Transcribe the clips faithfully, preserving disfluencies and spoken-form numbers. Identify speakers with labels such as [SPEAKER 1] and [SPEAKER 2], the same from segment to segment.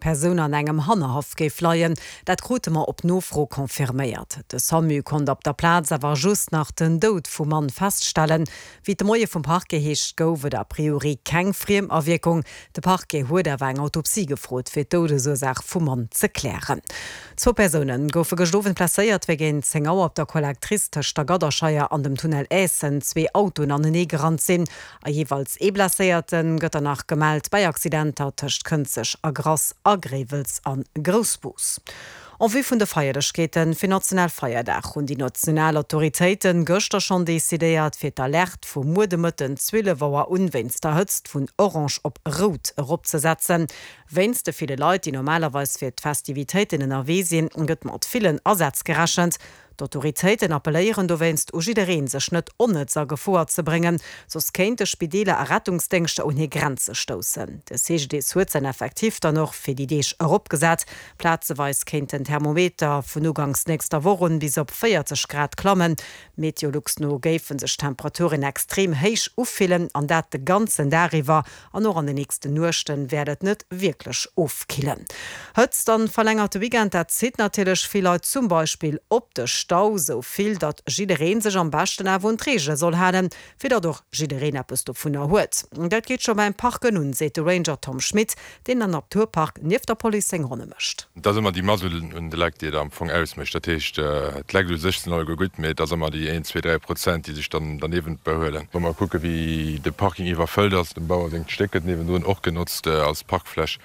[SPEAKER 1] Persoun an engem Hannerhaff géif leien. Dat krute mer op Nofro confirméiert. De Samu konnt op der Plaz awer just nach den Doud vum Mann feststellen. Wéi et de Moie vum Parquet heescht, gouf et a priori keng Friemawierkung. De Parquet huet awer eng Autopsie gefrot, fir d'Doudesursaach vum Mann ze klären. Zwou Persoune goufe gëscht Owend blesséiert, wéi géint zéng Auer op der Collectrice tëscht der Gadderscheier an dem Tunnel Aessen zwee Autoen anenee gerannt sinn. A jeeweils ee Blesséierte gëtt der nach gemellt bei Accidenter tëscht Kënzeg a Grass a Gréiwels a Groussbus. En vue vun de Feierlechkeete fir Nationalfeierdag hunn déi national Autoritéite gëschter schonn decidéiert, fir d'Alerte vu muer de Mëtten zwielef Auer un wéinst der Hëtzt vun orange op rout eropzesetzen. Wéinst de ville Leit, déi normalerweis fir d'Festivitéiten ënnerwee sinn, gëtt mat villen Asätz gerechent. D'Autoritéiten appelléieren dowéinst u jiddereen, sech net onnëtz a Gefoer ze bréngen, soss kéinte Spideeler a Rettungsdéngschter un hir Grenze stoussen. De C G D S huet säin Effectif dann och fir déi Deeg eropgesat. Plazeweis kéint den Thermometer vun uganks nächster Woch un bis op véierzeg Grad klammen. Meteolux no géife sech d'Temperaturen extrem héich ufillen, an dat de ganzen Dag iwwer, an och an den nächsten Nuechte wäert et net wierklech ofkillen. Hëtzt an verlängerte Weekend, dat zitt natierlech vill Leit, zum Beispill op de Stau, sou vill, datt jidderee sech am beschten awer un d'Reegele soll halen, fir datt och jiddereen eppes dovunner huet. Dat geet scho beim Parken un, seet de Ranger Tom Schmit, deen am Naturpark nieft der Police seng Ronne mécht.
[SPEAKER 2] Et ass ëmmer déi Mass un de Leit, déi et am Fong ausmécht. Dat heescht, d'Leit u sech sinn alleguer gutt, mee et ass ëmmer déi een, zwee, dräi Prozent, déi sech dann derniewent behuelen. Wa mer kucke wéi de Parking iwwerfëllt ass, dem Bauer sengt Stéck gëtt niewendrun och genotzt als Parkfläch,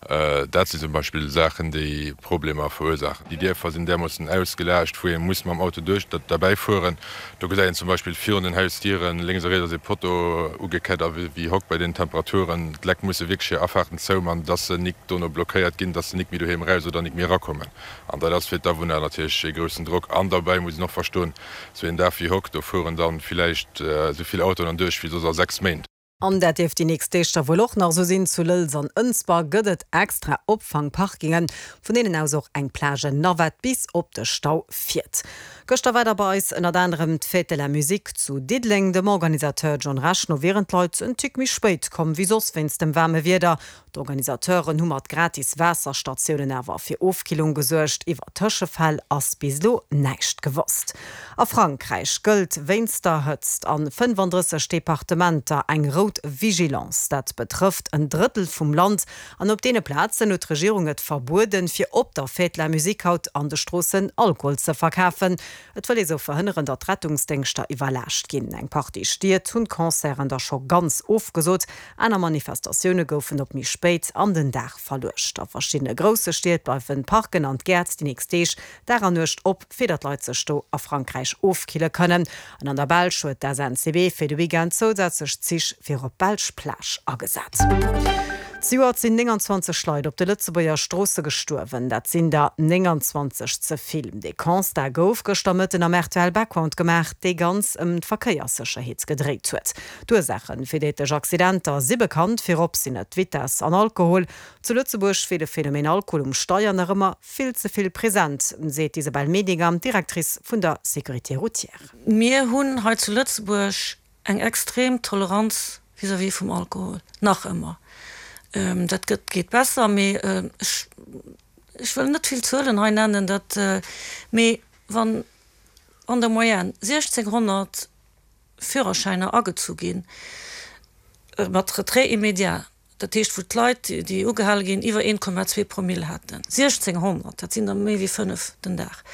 [SPEAKER 2] dat sinn zum Beispill Saachen, déi Problemer verursaachen. Déi Dierfer sinn därmoossen ausgelaascht, wou ee muss mam Auto duerch derbäi fueren. Do gesäit een zum Beispill virun den Hausdieren lénks a riets ass ee Potto ugekett a wéi hock bei den Temperaturen. D'Leit musse wierklech hir Afaarten zouman, dass se nik dono blockéiert ginn, dass se nik méi doheem eraus oder nik méi erakommen. An dat ass fir d'Awunner natierlech ee groussen Drock. An derbäi muss een och verstoen, sou een Dag wéi hock, do fueren dann villäicht esou vill Autoen erduerch wéi soss a sechs Méint.
[SPEAKER 1] An dat dierft déi nächst Deeg da wuel och nach esou sinn. Zu Lëlz an Ënsber gëtt et extra Opfangparkingen, vun deenen aus och eng Plage-Navette bis op de Stau fiert. Gëschter war da bei eis ënnert anerem d'Fête de la Musique zu Diddeleng. Dem Organisateur John Rech no wieren d'Leit en Tick méi spéit komm wéi soss wéinst dem waarme Wieder. D'Organisateuren hu mat gratis Waasserstatiounen awer fir Ofkillung gesuergt. Iwwer Tëschefäll ass bis elo näischt gewosst. A Frankräich gëllt wéinst der Hëtzt a fënnefandrësseg Departementer eng rout Vigilance. Dat betrëfft en Drëttel vum Land an op deene Plazen huet d'Regierung et verbueden, fir op der Fête de la Musique haut an de Stroossen Alkohol ze verkafen. Et wëll ee sou verhënneren, datt d'Rettungsdéngschter iwwerlaascht ginn. Eng Partie Stied hunn d'Concerten da scho ganz ofgesot, aner Manifestatioune goufen op méi spéit an den Dag verluecht. A verschiddene grousse Stied bleiwen d'Parken an d'Gäert déi nächst Deeg Dag an Nuecht op, fir datt d'Leit sech do a Frankräich ofkille kënnen. An an der Belsch huet d'S N C B fir de Weekend zousätzlech Zich fir op d'belsch Plage agesat. Zejoert sinn nénganzwanzeg Leit op de Lëtzebuerger Stroosse gestuerwen. Dat sinn der nénganzwanzeg ze vill. Dee Constat gouf gëschter Mëtten am R T L Background gemaach, dee ganz ëm d'Verkéierssécherheet gedréit huet. D'Ursaache fir déidlech Accidenter si bekannt, virop sinn et d'Vitess an Alkohol. Zu Lëtzebuerg wier de Phänomen Alkohol um Steier nach ëmmer vill ze vill present, seet d'Isabelle Medinger, Directrice vun der Sécurité routière.
[SPEAKER 3] Mir hunn hei zu Lëtzebuerg eng extrem Toleranz vis-à-vis vum Alkohol, nach ëmmer. Dat gëtt, geet besser, mee ech, ech wëll net vill Zuelen hei nennen, dat, mee wann an der Moyenne siechzénghonnert Führerschäiner agezu ginn, mat Retrait immédiat, dat heescht wou d'Leit, déi ugehale ginn, iwwer een Komma zwee Promille haten, siechzénghonnert, dat sinn der méi wéi fënnef den Dag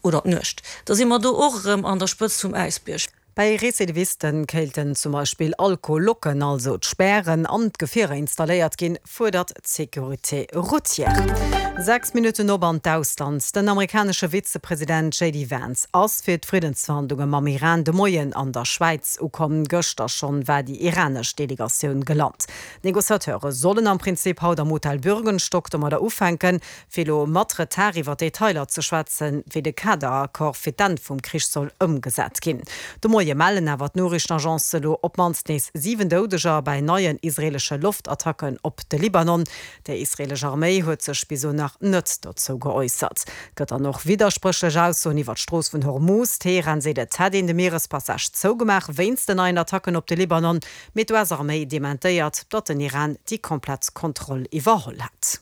[SPEAKER 3] oder d'Nuecht, da si mer do och erëm an der Spëtzt vum Äisbierg.
[SPEAKER 1] Bei Recidivisten kéilten zum Beispill Alkohollocken, also d'Spären, an d'Gefierer installéiert ginn, fuerdert d'Sécurité routière. Sechs Minutten op an d'Ausland. Den amerikanesche Vizepresident J D Vance ass fir d'Friddensverhandlunge mam Iran de Moien an der Schwäiz ukomm. Gëschter schonn war déi iranesch Delegatioun gelant. D'Negociateure sollen am Prinzip haut am Hotel Bürgenstock domadder ufänken, fir elo mat Retard iwwer Detailer ze schwätzen, wéi de Kaderaccord fir d'Enn vum Krich soll ëmgesat ginn. De Moie mellen awer d'Noriichtenagence elo op d'mannst nees siwen Doudeger bei neien israeelesche Loftattacken op de Libanon. Déi israeelesch Arméi huet sech bis elo nach net dozou geäussert. Et gëtt dann och widderspréchlech Aussoen iwwer d'Strooss vun Hormuz. Teheran seet, et hätt een de Mierespassage zougemaach wéinst den neien Attacken op de Libanon, mee d'U S-Arméi dementéiert, datt den Iran déi komplett Kontroll iwwerholl hätt.